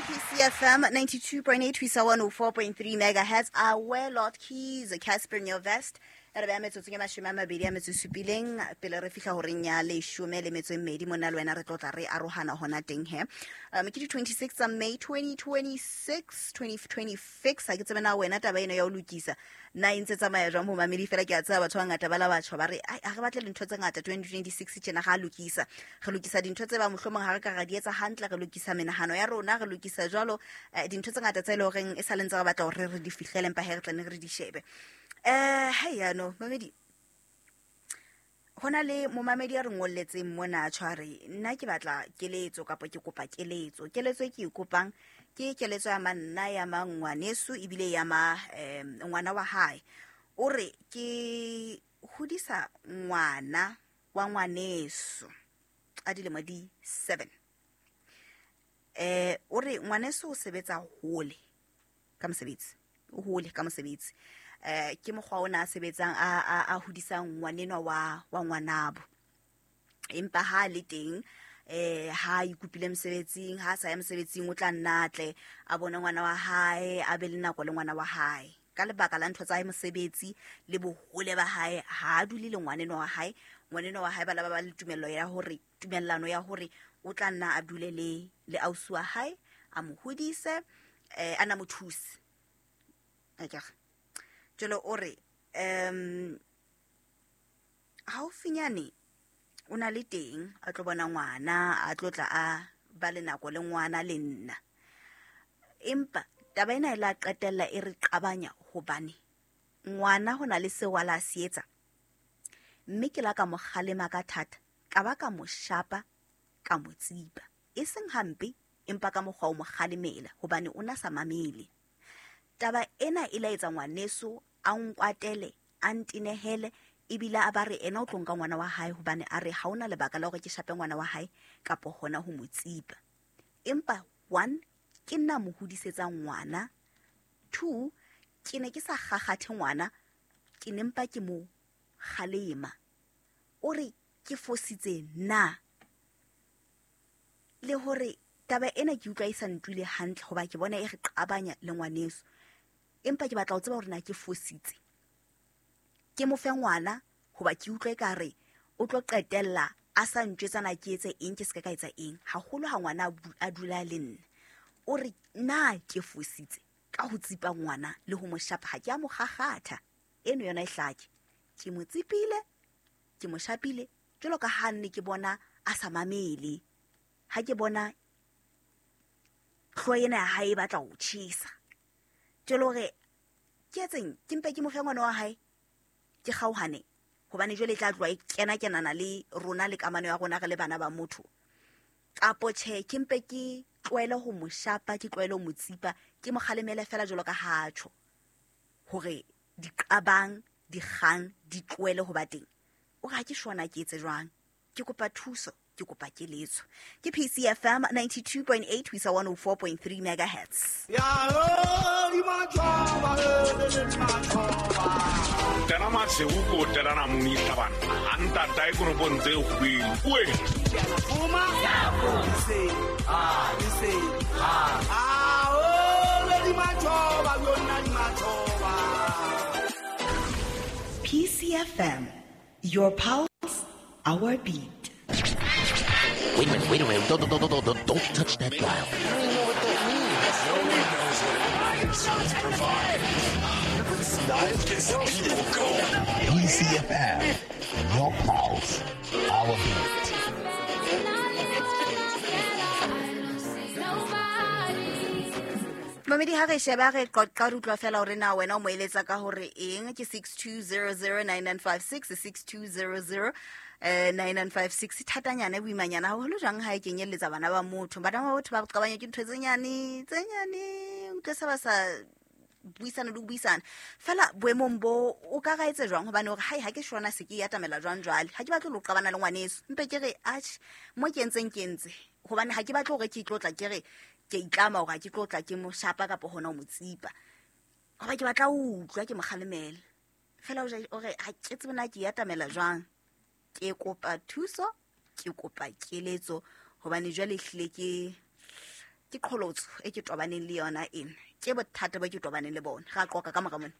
PCFM 92.8 ho isa 104.3 megahertz. Awe Lord Keys, Casper Nyovest. Re beya metsotsong e 27 pele re fihla horeng ya 12 mona le wena re tlotla re arohana hona teng he. Ke di 26 tsa May 2026, 2026. Ha ke tsebe na wena taba eno ya ho lokisa na e ntse tsamaya jwang momamedi, fela ke a tseba batho ba bangata ba la batjha ba re ai ha re batle dintho tse ngata 2026 tjena ga lokisa. Re lokisa dintho tse ba mohlomong ha re ka ra di etsa hantle, re lokisa menahano ya rona, re lokisa jwalo dintho tse ngata tse e leng horeng e sa le ntse re batla hore re di fihlele, empa he re tla ne re di shebe. Hei yano mamedi, hona le momamedi a re ngolletseng mona tshware, nna ke batla keletso kapa ke kopa keletso. Keletso e ke e kopang ke keletso ya manna ya mang ngwaneso ebile ya ma ngwana wa hae. O re ke hodisa ngwana wa ngwaneso a dilemo di 7. O re ngwaneso o sebetsa hole ka mosebetsi, o hole ka mosebetsi. Ke mokgwa ona a sebetsang a hodisang ngwanenwa wa ngwanabo. Empa ha le teng, ha ikupile mosebetsing, ha sa ya mosebetsing o tla nna atle a bone ngwana wa hae, a be le nako le ngwana wa hae. Ka lebaka la ntho tsa hae mosebetsi le bohole ba hae, ha a dule le ngwanenwa wa hae. Ngwanenwa wa hae ba la ba le tumello ya hore, tumellano ya hore o tla nna a dule le ausi wa hae, a mo hodise, a na mo thuse. Akere. Jwale o re, haufinyane o na le teng a tlo bona ngwana, a tlo tla a ba le nako le ngwana le nna. Empa taba ena e la qetella e re qabanya hobane ngwana ho na le seo a la se etsa. Mme ke la ka mo kgalema ka thata, ka ba ka mo shapa, ka mo tsipa. E seng hampe, empa ka mokgwa o mo kgalemela hobane o na sa mamele. Taba ena e la etsa ngwaneso a nkwatele, a ntenehele, ebile a ba re ena o tlo nka ngwana wa hae hobane a re ha ona lebaka la hore ke shape ngwana wa hae kapa hona ho mo tsipa. Empa 1, ke nna mo hodisetsa ngwana. 2, ke ne ke sa kgakgathe ngwana, ke ne mpa ke mo kgalema. O re ke fositse na? Le hore taba ena ke utlwa e sa ntule hantle hoba ke bona e re qabanya le ngwaneso. Empa ke batla ho tseba hore na ke fositse. Ke mo fe ngwana hoba ke utlwa ekare o tlo qetella a sa ntjwetsa na ke etse eng, ke se ka etsa eng. Haholo ha ngwana a dula le nna. O re na ke fositse ka ho tsipa ngwana le ho mo shapa, ha ke a mo kgakgatha. Eno yona e hlake. Ke mo tsipile, ke mo shapile jwalo ka ha nne ke bona a sa mamele. Ha ke bona hlooho ena ya hae e batla ho tjhesa. Jwale hore ke etseng, ke mpe ke mo fe ngwana wa hae, ke kgaohane, hobane jwale e tla tloha e kena-kenana le rona le kamano ya rona re le bana ba motho. Kapo tjhe, ke mpe ke tlohele ho mo shapa, ke tlohele ho mo tsipa, ke mo kgalemele fela jwalo ka ha tjho, hore diqabang, dikgang di tlohele ho ba teng. O re ha ke shona ke etse jwang? Ke kopa thuso, ke kopa keletso. Ke PCFM 92.8 ho isa 104.3 megahertz. Tena maseuko tena namuni tabana. Anta tai kono tse kgwedi. Oe. Uma se a se a o le di machoba yona di machoba. PCFM, your pulse, our beat. Wait a minute, don't touch that dial. I don't even know what that means. Nobody knows what it means. Let's provide. Gets the people going. PCFM, your pulse, our beat. Mamedi ha re sheba re qoqa re utlwa fela hore na wena o mo eletsa ka hore eng. Ke 62009956, 6200 9956. Thatanyana boimanyana haholo jwang ha e kenyelletsa bana ba motho. Bana ba motho ba qabanya ke ntho tse nyane, tse nyane, utlwe se ba sa buisana le ho buisana. Fela boemong bo o ka ra etse jwang hobane hore hai ha ke shona se ke atamela jwang jwale. Ha ke batle ho qabana le ngwaneso. Mpe ke re atjhe mo ke entseng ke entse hobane ha ke batle hore ke itlotla ke re ke itlama hore ha ke tlotla ke mo shapa kapa hona ho mo tsipa. Hoba ke batla ho utlwa ke mo kgalemela. Fela o re ha ke tsebe na ke atamela jwang. Ke kopa thuso, ke kopa keletso hobane jwale ehlile ke Ke qholotso e ke tobaneng le yona ena, ke bothata bo ke tobaneng le bona. Ga qoqa ka mora mona.